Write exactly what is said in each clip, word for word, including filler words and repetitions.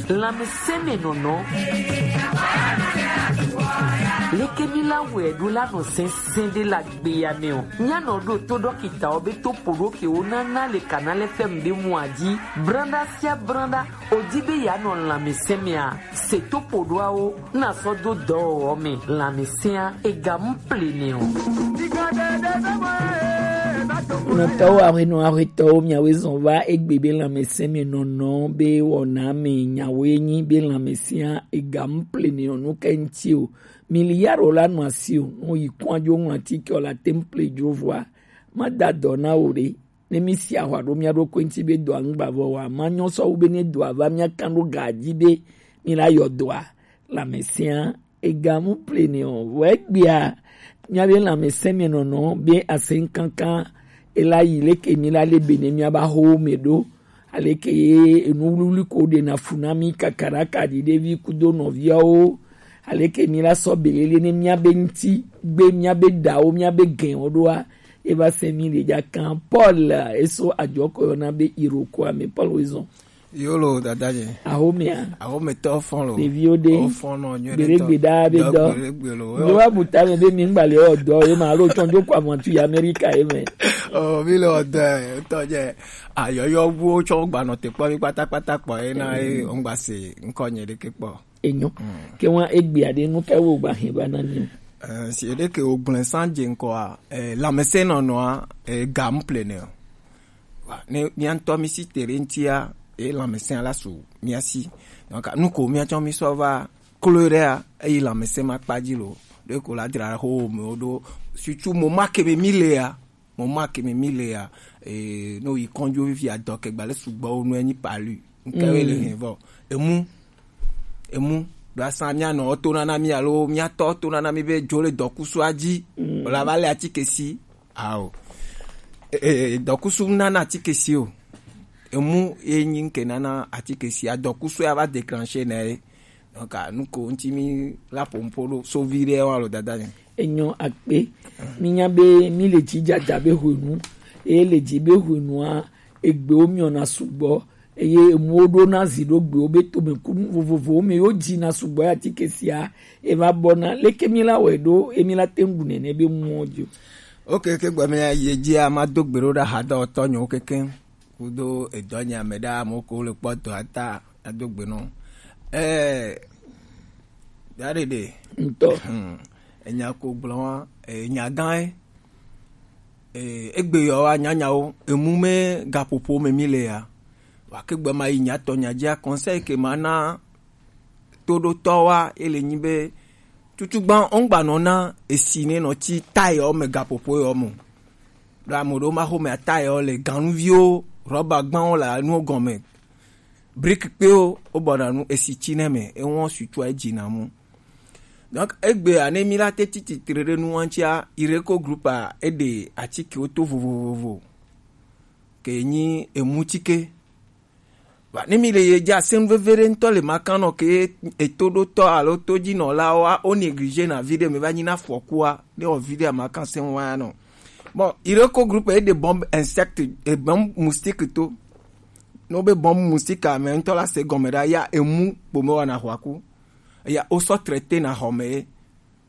Lanmɛsɛnmɛnɔnɔ. Leke mi la wɛ ɖo la nɔ sɛnsɛn ɖe la gbeya mɛ o. Mia nɔ ɖo to dɔkita o be to poɖo ke wo na na le kana lɛ fɛm ɖe mu aji. Branda sia branda o di be ya nɔ lanmɛsɛnmɛa. Se to poɖoawo na sɔ do dɔwɔwɔ mɛ lanmɛsɛnmɛa ega mu plenɛ o. Nɔtɔwo aƒenɔ aƒetɔwo miawoe zɔn va egbe be lanmɛsɛnmɛnɔnɔ be wɔna me nyawoe nyi be lanmɛsɛnmɛa ega mu plenɛ o nu ke ŋuti o. Mi li ya ɖo la nɔ asi o, nɔ yi kɔn adzo ŋlɔ atike o la te ŋu ple dzo vɔa. Ma da dɔ na wo ɖe. Ne mi si ahwa ɖo mia ɖokui ŋuti be dɔa ŋgba vɔ wa, ma nyɔ sɔ wu be ne dɔa va mia kan ɖo ga dzi be mi la yɔ dɔa. Lanmɛsɛnmɛa ega mu plenɛ o. Vɔ egbea mia be lanmɛsɛnmɛnɔnɔ be asɛnkankan ela yi leke mi la le be ne mia ba ho me ɖo. Aleke ye enu wluwlui ko ɖe na fu na mi kakaɖaka ɖi ɖevi kudo nɔviawo. Aleke mi la sɔ belele ne mia be ŋuti gbe mia be ɖawo mia be gɛn o ɖoa. Eva sɛ mi le dza kan Paul eso adzɔ ko yɔ na be Iroko ame Paul wo zɔn. Yo lo dada je. Ahomea. Ahometɔ fɔn lo. Ɖeviwo ɖe. Wo fɔn nɔ nyuie ɖe tɔ. Gbeɖegbe ɖa be dɔ. Gbeɖegbe lo. Yo wa buta me be mi ŋgba le ɔ dɔ ye ma lo tsɔn jo kwa mɔtu yi Amerika ye me. Oh, mi le ɔ dɔ ye tɔ je. Ayɔyɔ wo tsɔ gba nɔ te kpɔ mi kpatakpata kpɔ ye na ye ŋgba se ŋkɔ nye ɖeke kpɔ. Enyo. Ke wa egbea ɖe nu ka wo gba hɛn va na mi o? Eh, si ɖeke wo gblẽ san je ŋkɔa, eh, lanmɛsɛnmɛnɔnɔa, eh, ga mu plenɛ o. Wa, ne mia ŋutɔ mi si te ɖe ŋutia, e lanmɛsɛn la su mia si. Donc, nu ko mia tsɔ mi sɔ va klo ɖea, eyi lanmɛsɛn ma kpa dzi lo. Ɖe ko la dra ho me wo ɖo. Surtout mo ma ke be mi le ya, mo ma ke be mi le ya. E, no yi kɔnjo fifi adɔ ke gba le sugbɔ wo no enyi palu. Nke we le hɛn vɔ. Emu, emu. Ɖo asa mia nɔ to nana mi alo mia tɔ to nana mi be dzo le dɔkusu adzi. Wala va le atike si. Ao. E, e, dɔkusu nana atike si o. Emu ye nyi nke nana atike si. Adɔkusu ya va déclencher na ye. Donc, a, nu ko ŋuti mi la pompo ɖo sovi ɖe wa lo dada ne. Enyo akpe. Mi nya be mi le dzi dada be hwenu. Eye le dzi be hwenua, egbewo miɔna sugbɔ. Eye emuwo ɖo na zi ɖo gbewo be tome kunu vovovowo me yo dzi na sugbɔ ya atike sia. Eva bɔ na. Leke mi la wɛ ɖo, emi la te ŋu ɖu nene be muwo dzi o. Ok, ke gbe mi ye dzi a ma do gbe ɖo ɖa ha dɔ tɔ nyo keke. Kudo edɔ nya me ɖa mo ko le kpɔ dɔ ata. Ado gbe nɔ. Ɛɛ, daɖeɖe. Ŋutɔ. Hmm. Enya ko gblɔ wa, eh, nya gã ye. Eh, egbe yɔ wa nyanyawo, emu me gaƒoƒo me mi le ya. Wa ke gbe ma yi nya tɔ nya dzia, conseil ke ma na toɖotɔ wa, ele nyi be, tutu gba, ɔngba nɔ na esi ne nɔ ti taille me gaƒoƒo yɔ mo. Ɖo ame ɖewo ma xo me taille le ganuviwo, rɔba gbawo le anuwo gɔme. Brique kpewo, wo bɔna nu esi tsi ne me, ewɔn sutua edzi na mu. Donc, egbea ne mi la te titi tre ɖe nu ŋutia, Ireko Group a, eɖe atikewo to vovovovo. Ke nyi emutike. Wa, ne mi le ye dza sen veve ɖe ŋutɔ le makan nɔ ke eto ɖo tɔ alo to dzi nɔ la wa, o négligé na vi ɖe me va nyi na fɔkua, ne o vi ɖe a makan sen wa nɔ. Bon, Ireko Group eɖe bombe insecte, e bombe moustique to. No be bombe moustique a me ŋutɔ la se gɔme ɖa ya emu kpo me wɔna hwaku. Eya wo sɔ traité na xɔ me ye.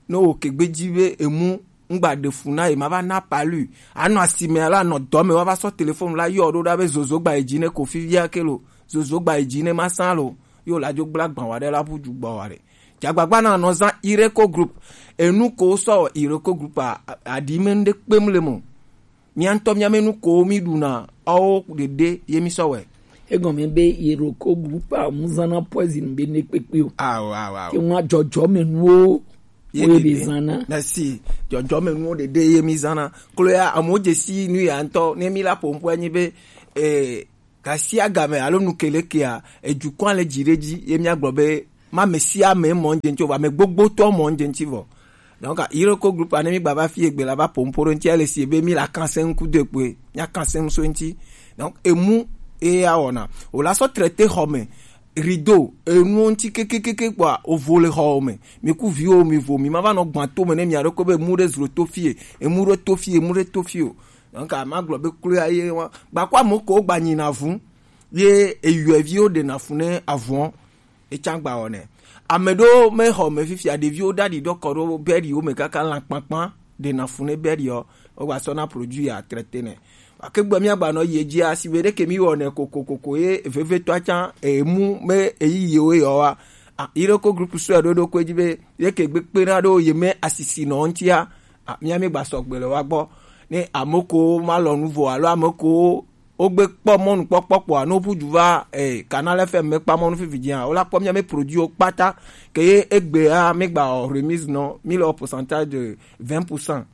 No wo ke gbe dzi be emu ŋgba ɖe fu na ye ma va na palu. Anɔ asime la nɔ dɔ me wa va sɔ téléphone la yɔ ɖo ɖa be zozo gba yi dzi ne ko fivia ke lo. Zozo gba yi dzi ne ma san lo. Yo la dzo gbla gban wa ɖe la ʋu dzu gbɔ wa ɖe. Dzagbagba na nɔ zan Ireko Group. Enu ko sɔ Ireko Group a, a, aɖi me ŋɖe kpem le mo. Mia ŋutɔ mia me nu ko mi ɖuna, ɔwo ɖeɖe ye mi sɔ wɛ. Egɔme be Iroko Group a mu zana poison be ne kpekpe o. Awo, awo, awo. Ke ŋua dzɔdzɔ me nuwo ye be zana. Merci. Dzɔdzɔ me nuwo ɖeɖe ye mi zana. Klo ya, amewo dze si nu ya ŋutɔ, ne mi la ƒo ŋkua nyi be, eh, Gasiagame alo nu ke le kea, ejukɔa le dzi ɖe dzi, ye míagblɔ be, ma ame sia ame mɔ ŋdze ŋuti o, vɔ ame gbogbotɔ mɔ ŋdze ŋuti vɔ. Donc, Iroko Group a, ne mi gba va fi egbe la va ƒo nuƒo ɖe ŋuti, ele si be mi la kan se ŋku de kpoe, mia kan se ŋu so ŋuti. Donc, emu ye ya wɔna. O la sɔ traité xɔ me, rideau, enuwo ŋuti kekekeke kpɔa, o vo le xɔwo me. Mi ku viwo, mi vo, mi ma va nɔ gbã to me ne mia ɖokui be emu ɖe zlo to fie, emu ɖe to fie, emu ɖe to fie o. Donc, a ma gblɔ be kloe ye wa. Gba kɔ ame ko gba nyina vu. Ye eyɔeviwo ɖena fu ne avɔ. Etsã gba wɔnɛ. Ame ɖewo me xɔ me fifia, ɖeviwo ɖaɖi ɖɔ kɔ ɖo bɛɖiwo me kaka lã kpankpan ɖe na fu ne bɛɖi ɔ, wogba sɔ na produit ya traité nɛ. Gake gbe mía gba nɔ yi edzia, si be ɖeke mi wɔnɛ kokokoko ye vevetɔa tsã emu me eyi yewo yɔ wa. A, yi ɖo ko groupe sɔe ɖo ɖo ko edzi be ɖeke gbe kpena ɖo ye me asisi nɔ ŋutia. A, mía mi gba sɔgbe le wa gbɔ. Ne ame ko ma lɔ nu vo alo ame ko wogbe kpɔ mɔnukpɔkpɔ kpɔa, ne woƒu du va, eh, Canal F M me kpa mɔnu fifi dzia, wola kpɔ mía me produit wo kpata, ke ye egbea mi gba wɔ remise nɔ, mi le wɔ pourcentage de vingt pour cent.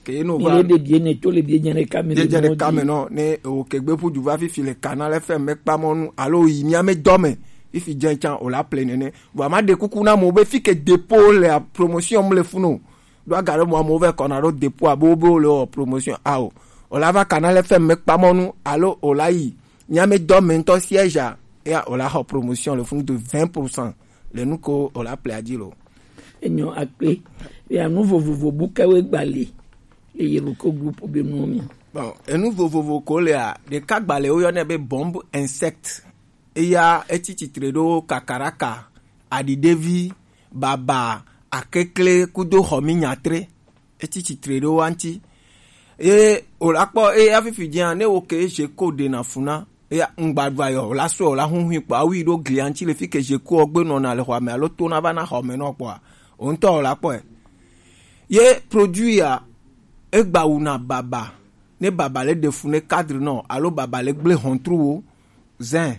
Ke ye no mi va le de bie ne to le bie dze ne kame bie dze ne kame nɔ, ne o ke gbe ƒu du va fifi le Canal F M me kpa mɔnu, alo yi mía me dɔ me, fifi dze tsã o la ple nene. Vɔ ma ɖe kuku na mo be fi ke dépôt le promotion le funu. Ɖo aga ɖe mɔ amewo vɛ kɔna ɖo dépôt abe wobe wole wɔ promotion a o. O la va Canal F M me kpa mɔnu alo o la yi mía me dɔ me ŋutɔ siège a, eya o la xɔ promotion le funu de vingt pour cent le nu ko o la ple adzi lo. Enyo akpe. Ya nu vovovo bu kawe gbali. Eye lo ko groupe be nu mi. Bon, enu vovovo ko lea, ɖeka gbali wo yɔnɛ be bombe insecte. Eya etsi tsitre ɖo kakaraka, aɖiɖevi, baba, akekle kudo xɔminyatre. Etsi tsitre ɖo wa ŋuti. Ye o la kpɔ eya fifi dzia, ne wo ke je ko ɖe na fu na. Eya ŋgba ɖu ayɔ, o la sɔe, o la huhui kpɔ, awu yi ɖo glia ŋuti le fi ke je ko ɔgbe nɔna le xɔa me alo to na va na xɔme nɔ kpɔa. O ŋutɔ o la kpɔe. Ye produit ya, egba wu na baba. Ne baba le ɖe fu ne cadre nɔ, alo baba le gble hɔntru wo, zin.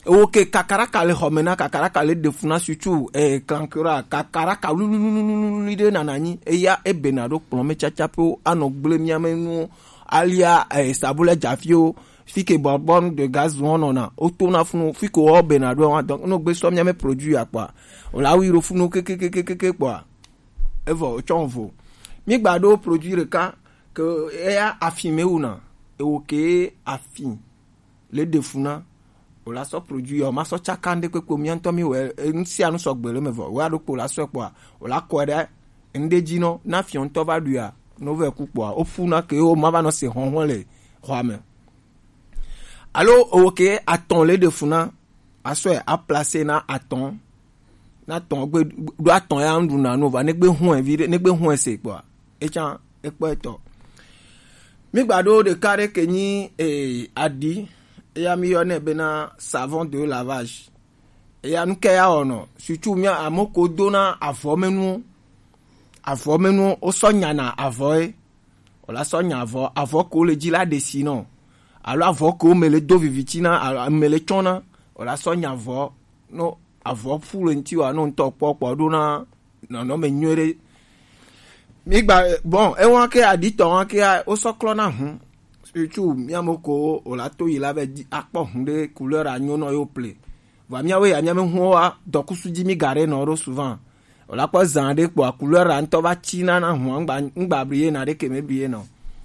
Ewo ke kakaraka le xɔme na, kakaraka le ɖe fu na sutu, eh, klankura, kakaraka lululululu ɖe nana nyi. Eya ebena ɖo kplɔ me tsatsa pe wo anɔ gble mía me nu alia, eh, sabule dzafiwo, fi ke bonbonne de gaz wɔn nɔna, o to na funu, fi ke wɔ bena ɖo wa, donc, no gbe sɔ mía me produit ya kpɔa, o la wi ɖo funu kekekekeke kpɔa, evɔ, o tsɔ vo. Mi gba ɖo produit ɖeka, ke eya afin me wuna, ewo ke afin le ɖe fu na, o la sɔ produit ya, o ma sɔ tsaka ŋɖe kpekpe, mía ŋutɔ mi wɛ, e, nu sia nu sɔgbe le me vɔ, o ya ɖo kpo la sɔe kpɔa, o la kɔe ɖe ŋɖe dzi nɔ, na fiɔ ŋutɔ va ɖu ya, no vɛ ku kpɔa, o fu na ke o ma va nɔ se hɔhɔ le xɔa me. Alo o ke atɔn le ɖe fu na, asɔe a placer na atɔn, na atɔn gbe ɖo atɔn ya ŋɖu na no va, ne gbe hɔn vi ɖe, ne gbe hɔn se kpɔa, etsã ekpɔ etɔ. Mi gba ɖo ɖeka ɖe ke nyi, eh, aɖi, eya mi yɔnɛ bena savon de lavage. Eya nu ke ya wɔnɔ, surtout mía ame ko dona avɔ me nuwo. Avɔ me nuwo, wo sɔ nyana avɔ ye. O la sɔ nya avɔ, avɔ ko le dzi la ɖe si nɔ. Alo avɔ ko me le do viviti na, alo me le tsɔ na. O la sɔ nya avɔ, no avɔ ƒu le ŋuti wa, no ŋutɔ kpɔ kpɔ ɖo na nɔnɔme nyuie ɖe. Mi gba, bon, ewa ke aɖitɔ wa ke a, wo sɔ klɔ na hu. Surtout mía me ko o la to yi la vɛ di akpɔ hu ɖe couleur a nyo nɔ yo ple. Vɔ míawo ya mía me hu wa dɔkusu dzi mi ga ɖe nɔ ɖo souvent. O la kpɔ zan ɖe kpɔa, couleur la ŋutɔ va tsi na na hua, ŋgba, ŋgba bli ye na ɖe ke me bli ye nɔ.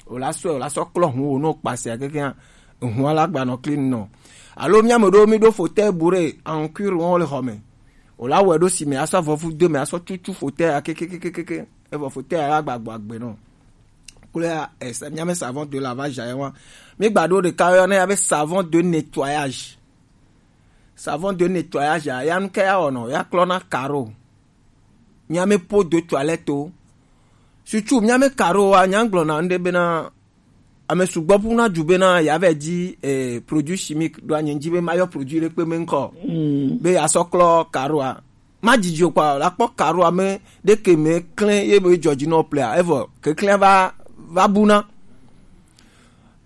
O la sɔe, o la sɔ klɔ hu wo no kpase akeke hã, hua la gba nɔ clean nɔ. Alo mía me ɖo mi ɖo fauteuil bourré en cuir wɔn le xɔ me. O la wɛ ɖo si me asɔ avɔ fu do me asɔ tutu fauteuil akeke keke keke. Evɔ fauteuil la gba gbɔ agbe nɔ. Kple esa mía me savon de lavage ya wa. Mi gba ɖo ɖeka yɔ ne ya be savon de nettoyage. Savon de nettoyage ya, ya nu ke ya wɔnɔ, ya klɔ na carreau. Mía me po de toilette o. Surtout mía me carreau wa, nya gblɔ na ŋɖe bena ame sugbɔ ƒu na du bena ya vɛ di, eh, produit chimique ɖo anyi dzi be ma yɔ produit ɖe kpe me ŋkɔ. Mm. Be ya sɔ klɔ carreau a. Ma didi o kpɔ, la kpɔ carreau a me ɖe ke me klẽ ye be dzɔ dzi nɔ plea, evɔ keklẽ va, va bu na.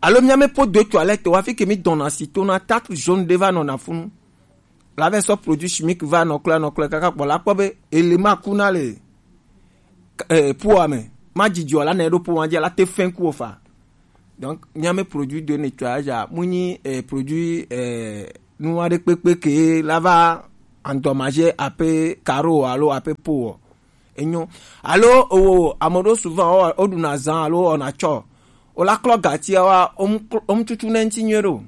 Alo mía me po de toilette wa fi ke mi dɔna si to na tarte jaune ɖe va nɔna funu. La vɛ sɔ produit chimique va nɔklɔ nɔklɔ kaka kpɔ la kpɔ be élément ku na le, eh, poa me. Ma didi o la ne ɖo poa dzi la te fɛn ku o fa. Donc mía me produit de nettoyage a, mu nyi, eh, produit, eh, nu aɖe kpekpe ke la va endommager ape carreau alo ape po o. Enyo. Alo o, ame ɖewo souvent o, o ɖuna zan alo o na tsɔ. O la klɔ gatia wa, o mu klɔ, o mu tutu ne ŋuti nyuie ɖo.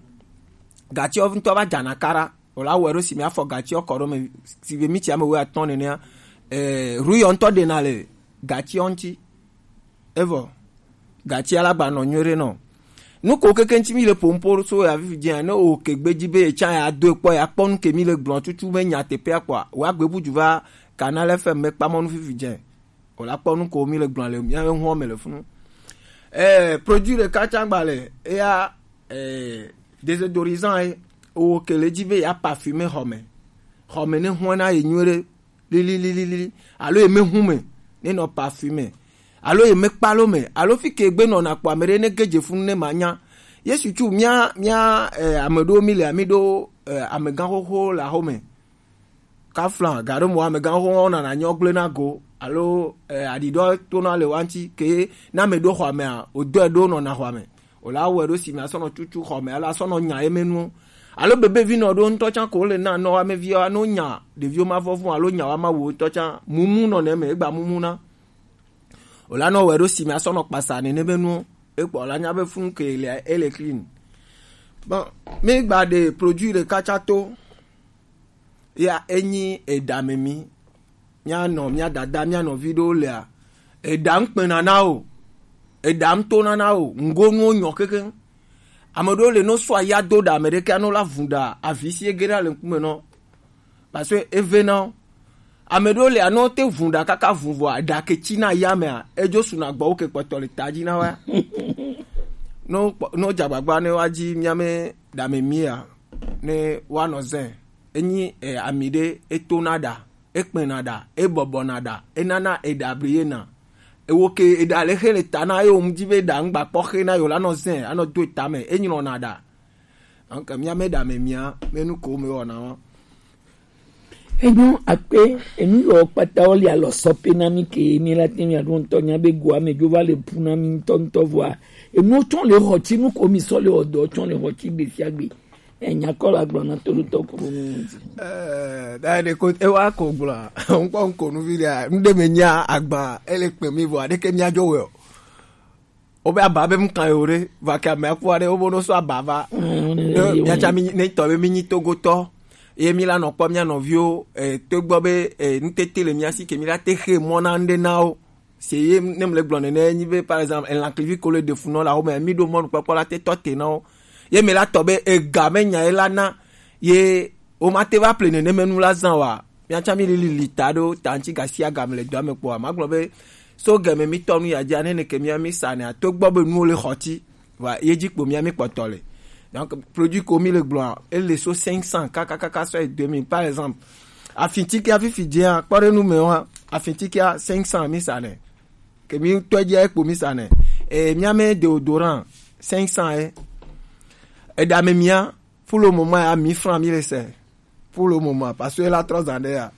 Gatia ŋutɔ va dzana kara. O la wɛ ɖo si mi afɔ gatia kɔ ɖo me, si be mi tsi ame wo atɔ̃ nenea. Eh, ruyɔ ŋutɔ ɖena le gatia ŋuti. Evɔ, gatia la gba nɔ nyuie ɖe nɔ. Nu ko keke ŋuti mi le ƒom po so ya fifi dze ne o ke gbeji be etsa ya do ekpɔ ya kpɔ nu ke mi le gblɔ tutu be nyateƒea kpɔa, wa gbe buju va Canal F M me kpamɔ nu fifi dze. O la kpɔ nu ko mi le gblɔ le mia ŋua me le funu. Eh, produit ɖeka tsa gba le eya, eh, désodorisant ye o ke le dzi be ya parfume xɔme. Xɔme ne hɔna ye nyuie ɖe lilililili, alo ye me hu me ne nɔ parfume, alo ye me kpalo me, alo fi ke gbe nɔna kpɔ ame ɖe ne ge dze funu ne ma nya. Yesu tsu mia, mia, eh, ame ɖewo mi le ami ɖo, eh, amegã xoxo le axome. Kafla, gaɖo mo amegã xoxo nana nyɔ gblẽ na go, alo, eh, aɖiɖɔ tona le wa ŋuti ke na ame ɖo xɔamea, o dɔe ɖo nɔna xɔame. O la wɔe ɖo si me asɔ nɔ tutu xɔme, alo asɔ nɔ nya ye me nuwo. Alo bebevi nɔ ɖo ŋutɔ tsã ko le na nɔ ame viwo no nya ɖeviwo ma vɔvɔ̃ alo nya wa ma wo ŋutɔ tsã mumu nɔ ne me egba mumu na. O la nɔ wɔe ɖo si me asɔ nɔ kpasa nene be nuwo. Ekpɔ la nya be funu ke le ele clean. Bon, mi gba ɖe produit ɖeka tsã to. Ya enyi eɖa me mi. Mia nɔ, mia dada, mia nɔvi ɖewo lea, eɖa ŋkpena na o, eɖa ŋtona na o, ŋgonuwo nyɔ kekeŋ. Ame ɖewo le no sɔ aya do ɖa ame ɖeke ano la vun ɖa avi si ege ɖa le ŋkume nɔ. Parce que eve na o. Ame ɖewo le ano te vun ɖa kaka vun vɔ aɖa ke tsi na ya mea, edzo suna gbɔ wo ke kpɔtɔ le ta dzi na wa. No kpɔ-, no dza gbagba ne wa dzi mia me ɖa me mia ne wa nɔ zɛ. Enyi, eh, ami ɖe etona ɖa, ekpena ɖa, ebɔbɔna ɖa, enana eɖa bli yena. Ewo ke eɖa le xe le ta na ye wo mu dzi be eɖa ŋgba kpɔ xe na yo la nɔ zɛ, anɔ do eta me, enyilɔna ɖa. Donc mia me ɖa me mia, me nu ko me wɔna wa. Enyo akpe, enu yɔ kpata wo le alɔ sɔ pe na mi ke mi la te mi aɖo ŋutɔ nya be go ame dzo va le pu na mi ŋutɔ ŋutɔ vɔa. Enu tsɔ le xɔ tsi nu ko mi sɔ le ɔdɔ tsɔ le xɔ tsi gbe sia gbe. Enya kɔ la gblɔ na toɖotɔ kuru nu. Eh, da de ko e wa ko gblɔ. Ŋkɔ ŋko nu vi de. Ŋde me nya agba ele kpe mi vɔ ade ke mia dzo wɛ o. Wo be aba be mu kan yo ɖe, va ke ame aku aɖe wo bo no so aba va. Mm, ne, ne, ne, ya tsa mi ne tɔ be mi nyi Togotɔ. Ye mi la nɔ kpɔ mia nɔviwo, eh, to gbɔ be, eh, nutete le mia si ke mi la te xe mɔ na ŋɖe na wo. Se ye ne mle gblɔ nene nyi be, par exemple, elã klivi ko le ɖe fu nɔ la wo me, mi ɖo mɔnukpɔkpɔ la te tɔ te na wo. Ye mi la tɔ be ega me nya ye la na ye wo ma te va ple nene me nu la zan wa. Mia tsa mi lili li ta ɖo ta ŋuti gasi agame le dɔa me kpɔa. Ma gblɔ be so gɛmɛ mi tɔ nu ya dzi ane ne ke mia mi sa ne ato gbɔ be nuwo le xɔ tsi. Wa ye dzi kpo mia mi kpɔtɔ le. Donc produit ko mi le gblɔa, ele so cinq cents kaka kaka sɔ yi deux mille. Par exemple, afintikia fifi dzia, kpɔ ɖe nu me wa, afintikia cinq cents mi sa ne. Ke mi tɔ dzia ekpo mi sa ne. E mia me déodorant cinq cents e. E da me mia, pour le moment ya mille francs mi le se. Pour le moment, parce que la trois ans ya.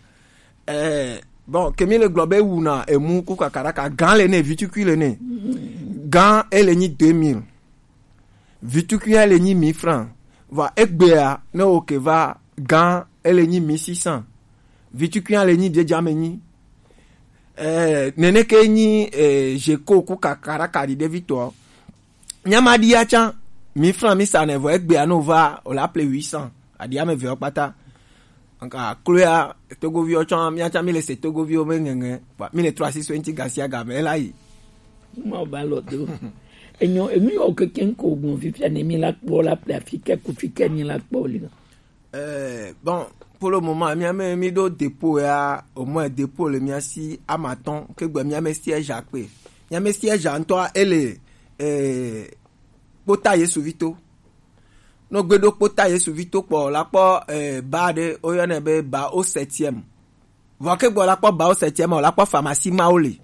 Eh, bon, ke mi le gblɔ be wuna emu ku kakaraka, gan le ne, vitukui le ne. Gan ele nyi deux mille. Vitukui ele nyi mille francs. Va egbea ne o ke va gan ele nyi mille six cents. Vitukui ele nyi biedza me nyi. Eh, nene ke nyi, eh, jeko ku kakaraka di de vitɔ. Mia ma ɖia tsã, mille francs mi sa ne vɔ egbea no va o la ple huit cents. Aɖi ame ve wo kpata. Nka kloya togoviwo tsã, mia tsã mi le se togoviwo me ŋeŋe. Ba, mi le trɔ asi so ŋuti gasi agame la yi. Ma ba lɔ do. Enyo, emi yo keke ŋko gbɔn fifia ne mi la kpɔ la ple afi ke ku fi ke mi la kpɔ li. Eh, bon, pour le moment, mia me mi ɖo dépôt ya, au moins dépôt le mia si amatɔn, ke gbe mia me siège akpe. Mia me siège ŋutɔ ele, eh, kpota Yesu vito. No gbe ɖo kpota Yesu vito kpɔ, la kpɔ, eh, ba ɖe, o yɔnɛ be ba au septième. Vɔ ke gbɔ la kpɔ ba au septième, la kpɔ pharmacie mawo le.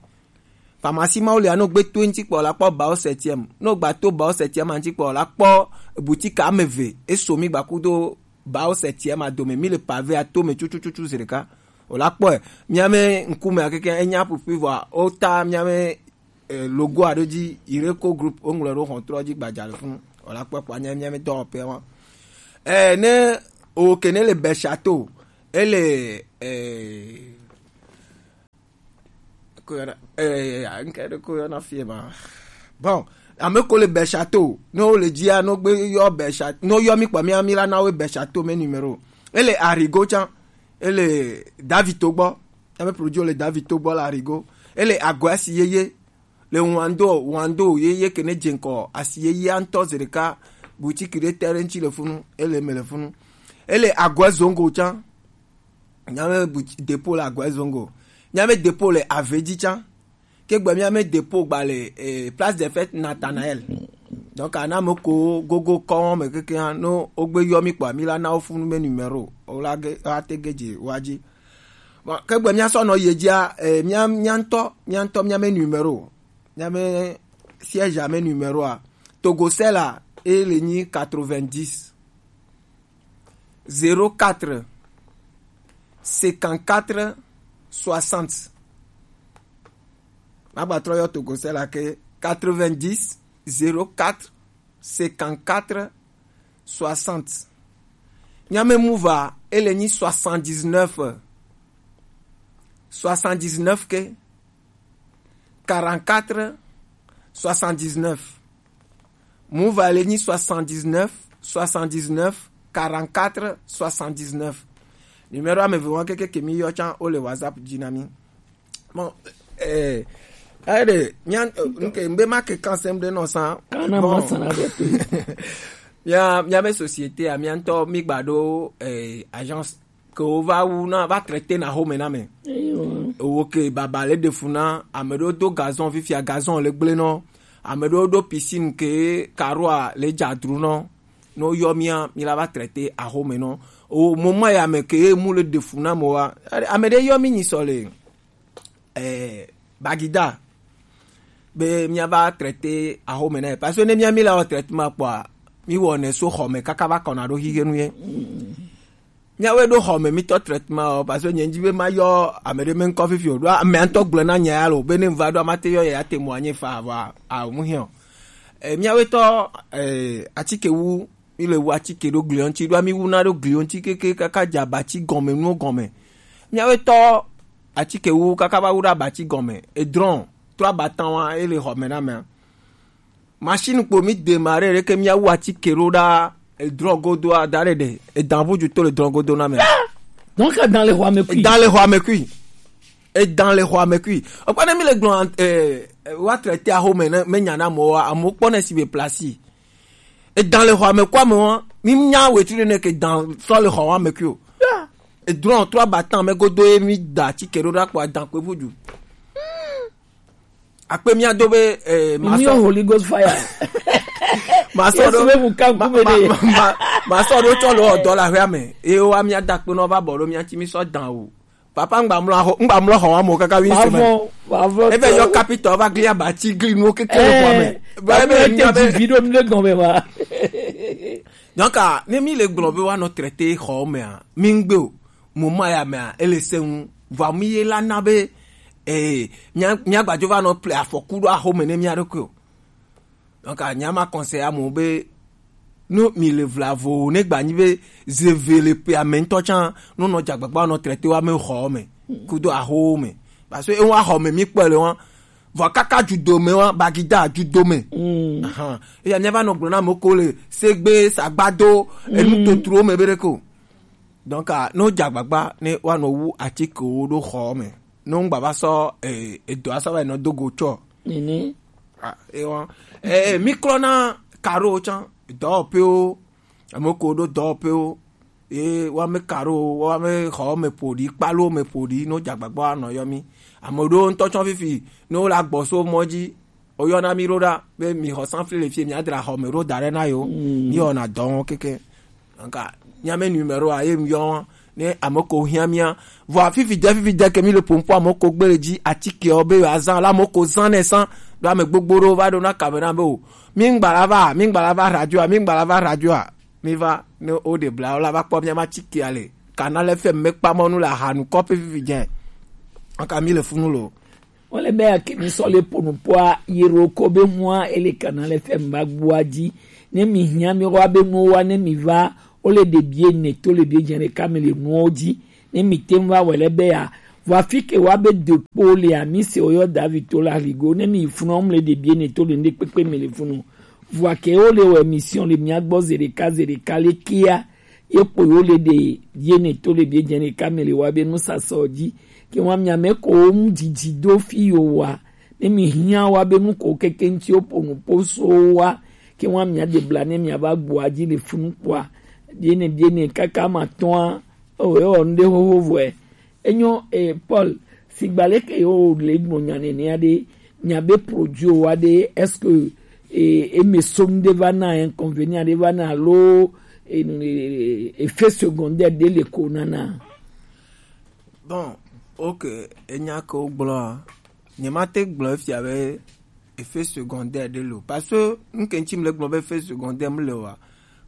Pharmacie mawo le, ano gbe to ŋuti kpɔ la kpɔ ba au septième. No gba to ba au septième ŋuti kpɔ la kpɔ boutique ame ve. Eso mi gba kudo ba au septième a dome, mi le pavé a to me tutututu zi ɖeka. O la kpɔe. Mia me ŋkume akeke enya pupi vɔ o ta mia me, eh, logo aɖe dzi Ireko Group o ŋlɔ ɖo xɔtrɔ dzi gbadza le funu. O la kpɔe kpɔ anya mia me dɔwɔƒe wa. Eh, ne o ke ne le Bɛshato, ele, eh, ko yɔna, eh, ŋke ɖe ko yɔna fie ma. Bon, ame ko le Bɛshato, no le dzia, no gbe yɔ Bɛshato, no yɔ mi kpɔ mi ami la na we Bɛshato me numéro. Ele Arigo tsã, ele Davito gbɔ. Ame produit le Davito gbɔ le Arigo. Ele Agoasi yeye. Le Wando, Wando, ye, ye ke ne dze ŋkɔ, asi ye ya ŋutɔ zeɖeka, boutique ɖe te ɖe ŋuti le funu, ele me le funu. Ele Agoezongo tsã. Míabe but-, dépôt le Agoezongo. Míabe dépôt le Avedzi tsã. Ke gbe míabe dépôt gba le, eh, Place des Fêtes Nathanaël. Donc, ana me ko gogo kɔn me keke hã, no wogbe yɔ mí kpɔa, mí la na wo funu me numéro. Wo la ge, ate ge dze wa dzi. Bon, ke gbe míasɔ nɔ ye dzia, eh, mía, mía ŋutɔ, mía ŋutɔ míabe numéro. Míabe siège ame numéro a. Togocel a, e le nyi quatre-vingt-dix, zéro quatre, cinquante-quatre, soixante. Magba trɔ yɔ Togocel a ke quatre-vingt-dix, zéro quatre, cinquante-quatre, soixante. Míabe Moov a, e le nyi soixante-dix-neuf, soixante-dix-neuf ke, quarante-quatre, soixante-dix-neuf. Moov a le nyi soixante-dix-neuf, soixante-dix-neuf, quarante-quatre, soixante-dix-neuf. Numéro ame eve wa keke ke mí yɔ tsã, wo le WhatsApp dzi na mí. Bon, eh, aɖe, mía, eh, nke, mbe ma ke kan sem ɖe nɔ sa. Kana bon. Ma sana ɖe te. Mía, míabe société a, mía ŋutɔ mí gba ɖo, eh, agence ke wo va wu na, va traité na xɔme na me. Eyo. Wo ke baba le ɖe fu na, ame ɖewo do gazon, fifia gazon le gble nɔ. Ame ɖewo ɖo piscine ke karoa le dzadru nɔ. No yɔ mía, mí la va traité axɔme nɔ. O moment ya me ke mu le ɖe fu na mo wa. Ame ɖe yɔ mí nyi sɔ le, eh, Bagida. Be mía va traité axɔme na. Parce que ne mía mí la wɔ traitement kpɔa, mí wɔ ne so xɔme kaka va kɔna ɖo xixe nu ye. Míawoe ɖo xɔme mítɔ traitement o, parce que nye ŋdi be ma yɔ ame ɖe me ŋkɔ fifi o. Ɖo ame ŋutɔ gblɔ na nya ya lo, be ne ŋva ɖo amate yɔ ya te mo anye fa vɔ a, a mu hiɔ. E, míawoe tɔ, e, atike wu, mi le wu atike ɖo gli ŋuti, ɖo mi wu na ɖo gli ŋuti keke kaka dza batsi gɔme nuwo gɔme. Míawoe tɔ atike wu kaka va wu ɖe abatsi gɔme, edrɔn, trɔ abatan wa, e le xɔme na mea. Machine kpo mi démarrer ɖe ke mía wu atike ɖo ɖa edrɔ godo a da ɖe ɖe. Edan ʋudu to le drɔ godo na me. Donc, dans les rois me kui. Dans les rois me kui. Edan le xɔa me kui. Okpa ne mi le gblɔ, eh, eh, wa traité axɔme ne me nya na mo wa, amo kpɔ ne si be place. Edan le xɔa me kua me wa, mi nya wetri ne ke dan sɔ le xɔa me kui o. Edrɔ trɔ abatan me godo ye mi da atike ɖo ɖa kpɔ adan kpe ʋudu. Akpe mía do be, eh, mi masɔ yɔ Holy Ghost fire. Masɔ Yesu ɖo be mu kan ma, kume ma, ne. Ma, ma, masɔ ɖo tsɔ lo dɔ la hwea me. E wa mía da kpe nɔ va bɔ ɖo mía ti mi sɔ dan o. Papa ŋgba mlɔ xɔ, ŋgba mlɔ xɔ wa mo kaka wi se me. Ebe yɔ kapitɔ va gli abati gli nuwo keke le xɔa me. Eh, ba ebe papa mía te be vi ɖo nu ɖe gɔme ma. Donc, ne mi le gblɔ be wa nɔ traité xɔ me a, mi ŋgbe o. Mo ma ya me a, ele se ŋu. Vɔa mi ye la na be, eh, mía, mía gbadzo va nɔ ple afɔku ɖo axɔme ne mía ɖokui o. Donc, nya ma conseil amewo be, no mi le vlavo o, ne gba nyi be, zeve le pe ame ŋutɔ tsã, no nɔ dzagbagba nɔ traité wa me xɔ me, kudo axɔwo me. Parce que ewa xɔ me mi kpɔ le wa, vɔ kaka judo me wa, bagida judo me. Mm. Ahan. Eya mía va nɔ gblɔ na ame ko le segbe, sagbado, enu totro me be ɖe ko. Donc, a, no dzagbagba ne wa nɔ wu atikewo ɖo xɔ me. No ŋgba va sɔ, eh, edɔ asɔ va yi nɔ do go tsɔ. Nini? Ah, e wa. Eh, mi klɔ na karo tsã, dɔwɔƒewo, ame ko ɖo dɔwɔƒewo, ye wa me karo, wa me xɔ me ƒo ɖi, kpalo me ƒo ɖi, no dzagbagba nɔ yɔ mi. Ame ɖewo ŋutɔ tsɔ fifi, ne wo la gbɔ so mɔ dzi, woyɔna mi ɖo ɖa be mi xɔ sanfli le fie, mi adra xɔ me ɖo da ɖe na yo. Mm. Mi wɔna dɔ wɔn keke. Donc, mía me numéro a ye mi yɔ ne ame ko hiã mía. Vɔ fifi de, fifi de ke mi le pompo ame ko gbe le dzi atike o be yo azan la ame ko zan ne san. Ɖo ame gbogbo ɖo va ɖo na kamera be o. Mi ŋgba la va, mi ŋgba la va radio a, mi ŋgba la va radio a. Mi va ne o de bla o la va kpɔ mía ma atike a le. Canal F M me kpa mɔnu le ahanu kɔpe fifi dze. Aka mi le funu lo. Wole be ya ke mi sɔ le ponu poa yero ko be mua ele Canal F M ba gbua dzi. Ne mi hiã mi wa be nu wa ne mi va, wole de bie ne to le bie dze ne ka mi le nuwo dzi. Ne mi te va wele be ya, vɔ afi ke wa be de kpo le a mi se o yɔ David to la ligo. Ne mi funu mle de bie ne to le ne kpekpe mi le funu. Vɔ ke wole wɔ émission le mia gbɔ zeɖeka zeɖeka le kia. Ye kpo yo le ɖe ye ne to le bie dze ne ka me le wa be nu sasɔ dzi. Ke wa mia me ko mu dzidzi do fi yo wa. Ne mi hiã wa be nu ko keke ŋuti wo po nu po so wa, ke wa mia de bla ne mia va gbɔ adzi le funu kpɔa, biene biene kaka ma tɔa, o e wɔ nu ɖe xoxo vɔe. Enyo, e, Paul, sigba leke yo le gbɔ nya nene aɖe, mia be produit wa ɖe, est-ce que, e, e me so nu ɖe va na inconvénient ɖe va na alo, e, e, effet secondaire ɖe le ko nana? Bon, ok, enya ke wo gblɔa, nye ma te gblɔ efia be effet secondaire ɖe le o. Parce que nu ke ŋuti mi le gblɔ be effet secondaire mi le oa,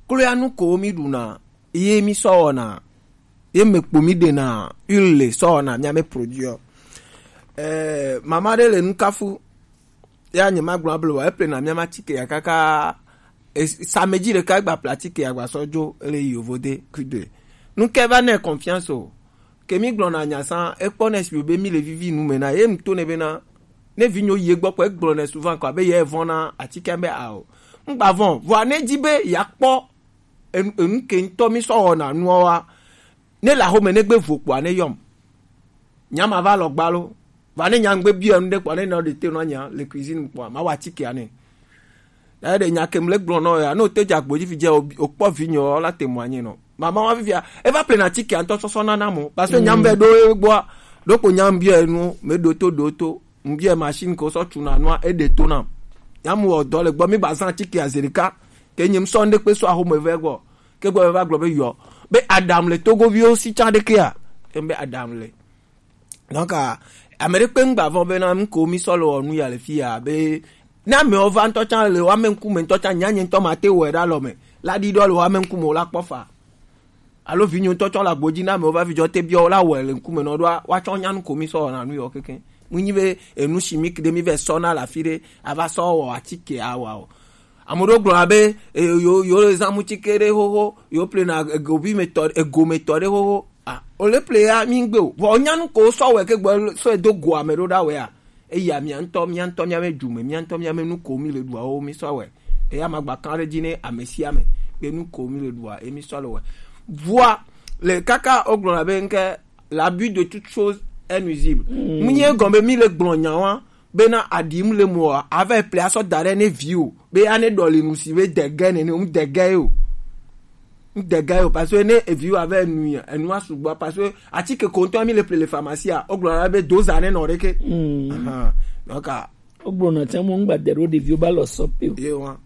kloya nu ko mi ɖuna, ye mi sɔ wɔna, ye me kpo mi ɖena huile sɔ wɔna mia me produit. Eh, mama ɖe le nu kafu, ya nye ma gblɔ able wa, eple na mia ma tike ya kaka, e, samedi ɖeka egba ple atike ya gba sɔ dzo, ele yi yovo de kude. Nu ke va ne confiance o. Ke mi gblɔna nya sa, ekpɔ ne si be mi le vivi nu me na, ye mi to ne be na, ne vinyo ye gbɔ kpɔ, egblɔ ne souvent kɔ, abe ye vɔ̃ na atike be a o. Ŋgba vɔ̃, vɔa ne di be ya kpɔ, enu, enu ke ŋutɔ mi sɔ wɔna nua wa, ne le axome ne gbe vo kpɔa ne yɔm. Nya ma va lɔ gba lo. Va ne nya ŋgbe bia nu ɖe kpɔa ne nɔ ɖe te nɔ nya le cuisine kpɔa, ma wa atike ane. Ya ɖe nya ke mle gblɔ nɔ ya, no te dza gbodzi fi dze o, o kpɔ vi nyɔ la te mo anyi nɔ. Mama wa vivia, eva ple na atike ŋutɔ sɔsɔ nana mo. Parce que nya mbe ɖo e gbɔa, ɖo ko nya mbia nu, me ɖo to ɖo to. Ŋbia machine ko sɔ tuna nua, eɖe to nam. Nya mu wɔ dɔ le gbɔ, mi ba zan atike azerika. Ke nyem sɔ ŋɖe kpe sɔ axome vɛ gbɔ. Ke gbɔ va gblɔ be yɔ. Be aɖam le Togoviwo si tsa ɖekea. Ke be aɖam le. Donc, ah, ame ɖe kpe ŋgba vɔ̃ bena nu ko mi sɔ le wɔ nu ya le fi ya be, ne amewo va ŋutɔ tsã le wo ame ŋkume ŋutɔ tsã, nya nye ŋutɔ ma te wɔe ɖe alɔ me. La ɖi ɖɔ le wo ame ŋkume o la kpɔ fa. Alo vinyo ŋutɔ tsɔ le agbo dzi na amewo va vidzɔ te biɔ wo la wɔe le ŋkume nɔ ɖoa, woatsɔ nya nu ko mi sɔ wɔna nu yɔ keke. Mu nyi be enu chimique ɖe mi vɛ sɔ na le afi ɖe, ava sɔ wɔ atike awa o. Ame ɖewo gblɔna be, e, yo, yo le zã mutike ɖe xoxo, yo plena egovi me tɔ, ego me tɔ ɖe xoxo. Ah, o le ple ya mi ŋgbe o. Vɔ o nya nu ko sɔ wɛ ke gbɔ sɔ do go ame ɖo ɖa wɛ a. Eya mia ŋutɔ, mia ŋutɔ mia me dzu me, mia ŋutɔ mia me nu ko mi le ɖua wo mi sɔ wɛ. Eya ma gba kan ɖe dzi ne ame sia ame be nu ko mi le ɖua, emi sɔ le wɛ. Vɔa le kaka o gblɔna be ŋke l'abus de toute chose est nuisible. Mm. Mu nye gɔme mi le gblɔ nya wa, bena aɖim le moa, ava ple asɔ da ɖe ne viwo, be ane ɖɔ le nu si be dege nene, ŋdege ye o. Ŋdege ye o, parce que ne eviwo ava nu ya, enu asugbɔ, parce que atike ko ŋutɔ mi le ple le pharmacie a, o gblɔ na be doza ne nɔ ɖeke. Mm. Ahan. Donc, ah, o gblɔ na tse mo ŋgba de ɖo ɖeviwo ba lɔ sɔ pe o. Ye wa.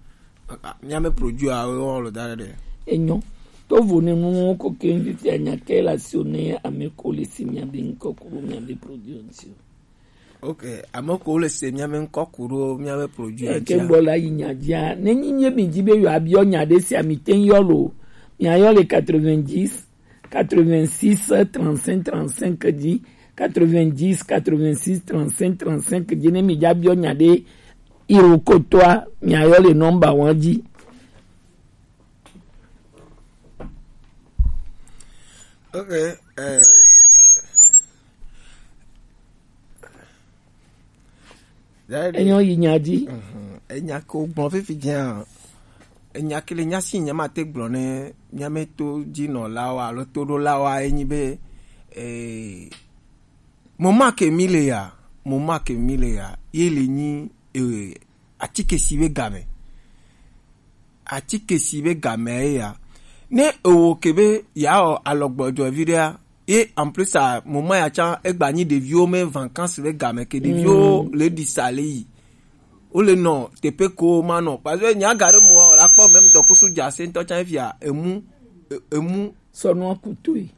Ah, mia me produit a, wo lɔ da ɖe. Enyo. To vo ne nu ko ke ŋdi ti anya ke la si o ne ame ko le si mia be ŋkɔ kuro mia be produit o si o. Ok, ame ko le se mia me ŋkɔ ku ɖo mia be produit a. Eke dzi a. Gbɔ la yi nya dzia. Ne nyi nye mi dzi be yo abiɔ nya ɖe sia mi te yɔ lo. Mia yɔ le quatre-vingt-dix, quatre-vingt-six, trente-cinq, trente-cinq dzi. Quatre-vingt-dix, quatre-vingt-six, trente-cinq, trente-cinq dzi. Ne mi dza biɔ nya ɖe iro kotoa, mia yɔ le nɔmba wan dzi. Ok, eh. Enyo yi nya dzi. Mhm. Enya ke wo gblɔ fifi dzia, enya ke le nya si nya ma te gblɔ ne mia me to dzi nɔ la wa alo to ɖo la wa enyi be, eh, mo ma ke mi le ya, mo ma ke mi le ya, ye le nyi, eh, atike si be game. Atike si be game ye ya. Ne ewo ke be ya o alɔgbɔjɔ vi ɖea, ye en plus a moment ya tsã egba nyi ɖeviwo me vacances be game ke ɖeviwo le ɖi sa le yi. Wo le nɔ teƒe ko ma nɔ. Parce que nya ga ɖe mo la kpɔ même dɔkusu dza se ŋutɔ tsã fia emu, e-, emu. Sɔnua kutoe.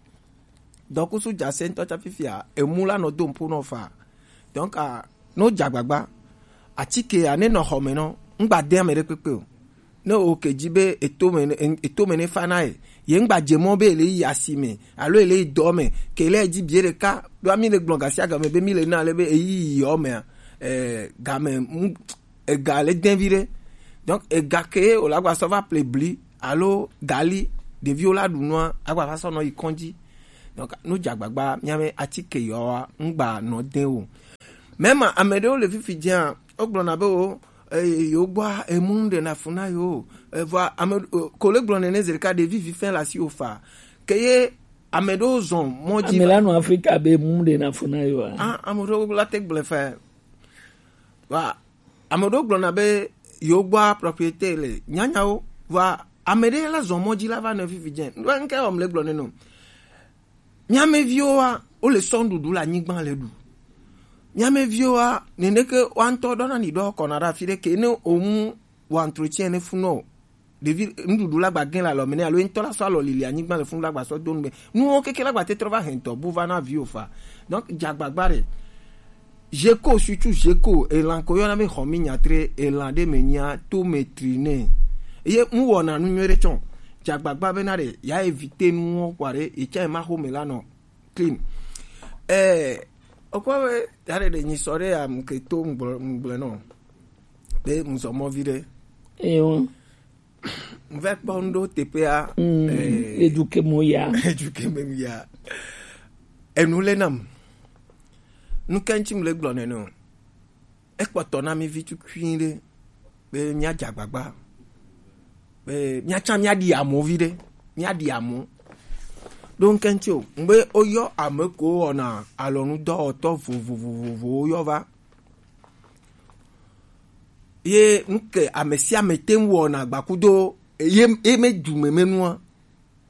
Dɔkusu dza se ŋutɔ tsa fifia, emu la nɔ do ŋpo nɔ fa. Donc, ah, no dza gbagba, atike ya ne nɔ xɔ me nɔ, ŋgba de ame ɖe kpekpe o. Ne o ke dzi be eto me ne, eto me ne fa na ye, ye ŋgba dze mɔ be ele yi asi me, alo ele yi dɔ me, ke le dzi bie ɖeka, ɖo ami le gblɔ gasia game be mi le na le be eyi yi yɔ mea, eh, game, ega le dɛn vi ɖe. Donc, ega ke o la gba sɔ va ple bli alo gali, ɖeviwo la ɖu nua, agba va sɔ nɔ yi kɔndzi. Donc, nu dza gbagba, mia me atike yɔa, ŋgba nɔ dɛn o. Même ame ɖewo le fifi dzia, wo gblɔna be o, eh, yo gbɔa, emu ɖe na fu na yo. Eh, vɔa, ame, eh, ko le gblɔ nene zi ɖeka ɖevi vi fɛn le asi wo fa. Ke ye ame ɖewo zɔn mɔ dzi. Ame la nɔ Afrika be emu ɖe na fu na yo a? Ah, ame ɖewo la te gblɔe fa. Wa, ame ɖewo gblɔna be yewo gbɔa propriété le nyanyawo. Wa, ame ɖe la zɔ mɔ dzi la va nɔ fifi dze. Ŋɖe ŋke wɔm le gblɔ ne no. Mía mɛ viwoa, wole sɔ nuɖuɖu le anyigba le ɖu. Mía mɛ viwoa, neneke woa ŋutɔ ɖɔna ni ɖɔ kɔna ɖe afi ɖe ke ne womu wɔ entretien ne funɔ o. Ɖevi nuɖuɖu la gba gẽ le alɔ me ne alo ŋutɔ la sɔ alɔ lili anyigba le funu la gba sɔ do nu me. Nuwo keke la gba te trɔ va hɛn tɔ bu va na viwo fa. Donc, dzagbagba ɖe. Zeko, surtout zeko, elan ko yɔna be xɔmi nyatre, elan ɖe me nyia, to me tri nɛ. Ye mu wɔna nu nyuie ɖe tsɔ. Dzagbagba be na ɖe, ya éviter nuwo kɔ ɖe, etsɛ ma xo me la nɔ clean. Eh, okwa be, ya ɖe ɖe nyi sɔ ɖe ya mu ke to ŋgblɔ, ŋgblɔ nɔ. Be mu zɔ mɔ vi ɖe. Eyo. Ŋvɛ kpɔ ŋɖo teƒea. Mm, eh, eduke mo ya. Eduke mo ya. Enu le nam. Nu ke ŋuti mle gblɔ nene o. Ekpɔtɔ na mi vi tukui ɖe. Be mía dze agbagba. Be mía tsã mía ɖi amo vi ɖe. Mía ɖi amo. Ɖo ŋke ŋuti o. Ŋgbe woyɔ ame ko wɔna alɔnudɔwɔtɔ vovovovovowo yɔ va. Ye nuke ame sia ame te ŋu wɔna agbakudo ye, ye me du me me nua.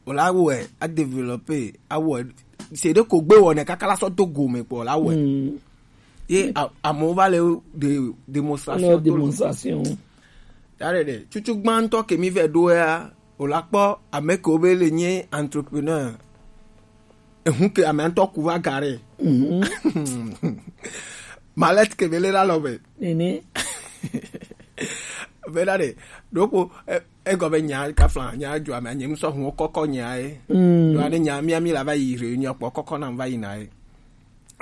Wòle awɔe, a développer, awɔe. Se ɖe ko gbe wɔnɛ kaka la sɔ do gome kpɔ la wɔe. Mm. Ye a-, amewo va le de-, démonstration. Le to le démonstration. Ya ɖe ɖe, tutu gbãtɔ ke mi vɛ ɖo ya, wòle akpɔ ame kewo be le nye entrepreneur. Ehun ke ame ŋutɔ ku va ga ɖe. Mhm. Malette ke be le la lɔ be. Nene. Be la ɖe. Ɖoko, e-, egɔ be nya kafla, nya dzɔ ame, nye ŋusɔ hun kɔkɔ nya ye. Mm. Ɖo ane nya mia mi la va yi réunion kpɔ kɔkɔ na va yi na ye.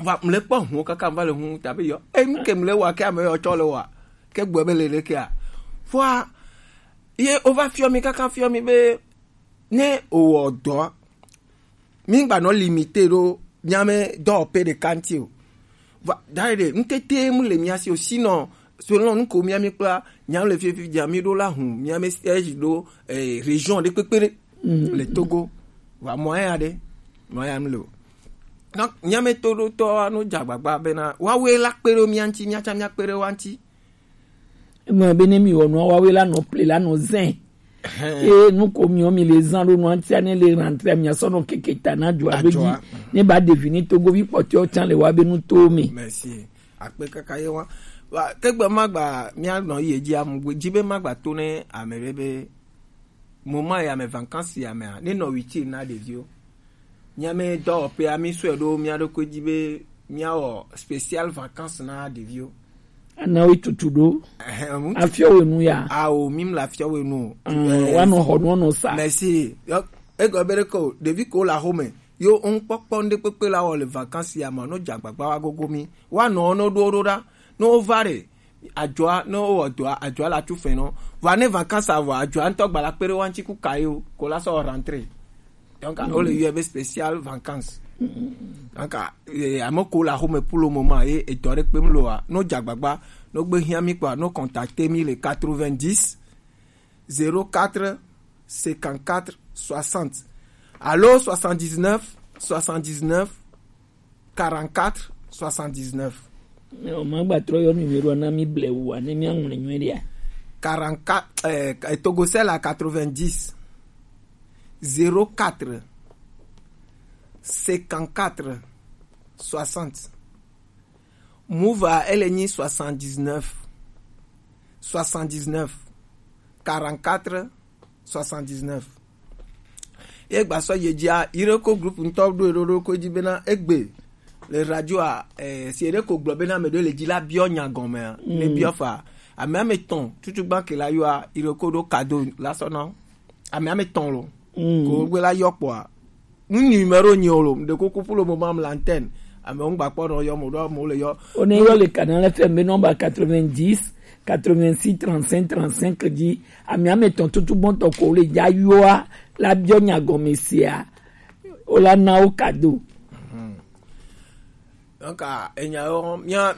Va mle kpɔ hun kaka va le hun ta be yɔ. E nu ke mle wa ke ame yɔ tsɔ le wa. Ke gbɔ be le le ke a. Fua, ye o va fiɔ mi kaka fiɔ mi be ne o wɔ dɔ. Mi gba nɔ limité ɖo mía mɛ dɔwɔƒe ɖeka ŋuti o. Va, da ɖe, ŋutete mu le mía si o, sinon, selon nu ko mía mi kpla, mía le fifi dza mi ɖo la hũ, mía mi siège ɖo, eh, région ɖe kpekpe ɖe, mhm, le Togo. Va moyen aɖe, moyen mi le o. Donc, mía mi to ɖo tɔ anu dza agbagba bena, woawoe la kpe ɖo mía ŋuti, mía tsã mía kpe ɖe woa ŋuti. Ema be ne mi wɔ nua, woawoe la nɔ ple la nɔ zɛn. Ɛhɛn. Eye nu ko miɔ mi le zan ɖo nua ŋutia ne le rentrée mia sɔ nɔ keke ta na dua be dzi. Adua. Ne ba ɖevi ni togovi kpɔtɔewo tsã le wa be nu to me. Merci. Akpe kaka ye wa. Wa, ke gbe ma gba mia nɔ yi edzi amu gbe dzi be ma gba to ne ame ɖe be moment ya me vacances ya mea, ne nɔ huitième na ɖeviwo. Mía mɛ dɔwɔƒea, mi sɔe ɖo mía ɖokui dzi be míawɔ spécial vacances na ɖeviwo. Ana wo tutu ɖo. Ɛhɛn, ŋutsu. Afiɔ wo nu ya. Ao, mi mla afiɔ wo nu. Mm, eh, woanɔ xɔ nu, woanɔ sa. Merci. Yɔ, egɔ be ɖe ko, ɖevi ko le axome. Yo, ŋkpɔkpɔ ŋɖe kpekpe la wɔ le vacances ya me, no dze agbagba wa gogo mi. Woanɔ wo no ɖo ɖo ɖa. No wova ɖe, adzɔa, ne wowɔ dɔa, adzɔa la tu fɛn nɔ. Vɔa ne vacances vɔ, adzɔa ŋutɔ gba la kpe ɖe wa ŋuti ku ka ye o, ko la sɔ rentrée. Donc, mm, wole yɔe be spécial vacances. Donc, eh, ame ko le axome pour le moment, ye edɔ ɖe kpem loa, no dze agbagba, no gbe hiã mi kpɔa, no contacter mi le quatre-vingt-dix, zéro quatre, cinquante-quatre, soixante. Alo soixante-dix-neuf, soixante-dix-neuf, quarante-quatre, soixante-dix-neuf. O ma gba trɔ yɔ numéro na mi blewu wa ne mi aŋlɔ nyuie ɖia. Quarante-quatre, eh, Togo c'est la quatre-vingt-dix, zéro quatre, cinquante-quatre, soixante. Move a, ele nyi soixante-dix-neuf, soixante-dix-neuf, quarante-quatre, soixante-dix-neuf. Ye gba sɔ ye dzia, Ireko groupe ŋutɔ ɖo eɖo ɖo ko dzi bena egbe le radio a, eh, si eɖe ko gblɔ bena ame ɖe le dzi la biɔ nya gɔmea, ne biɔ fa. Ame ame tɔn, tutu gba ke la yɔa, Ireko ɖo cadeau la sɔ na wo. Ame ame tɔn lo. Mm. Ko gbe la yɔ kpɔa. Nu numéro nyi o lo, de ko kupu lo mo mam l'antenne. Ame ŋgba kpɔ nɔ yɔ mo ɖo mo le yɔ. O ne yɔ le Canal F M be nɔmba quatre-vingt-dix, quatre-vingt-six, trente-cinq, trente-cinq dzi. Ame ame tɔn tutu gbɔntɔ ko le dza yɔa la biɔ nya gɔme sia. O la na wo cadeau. Donc, ah, enya yo, mia,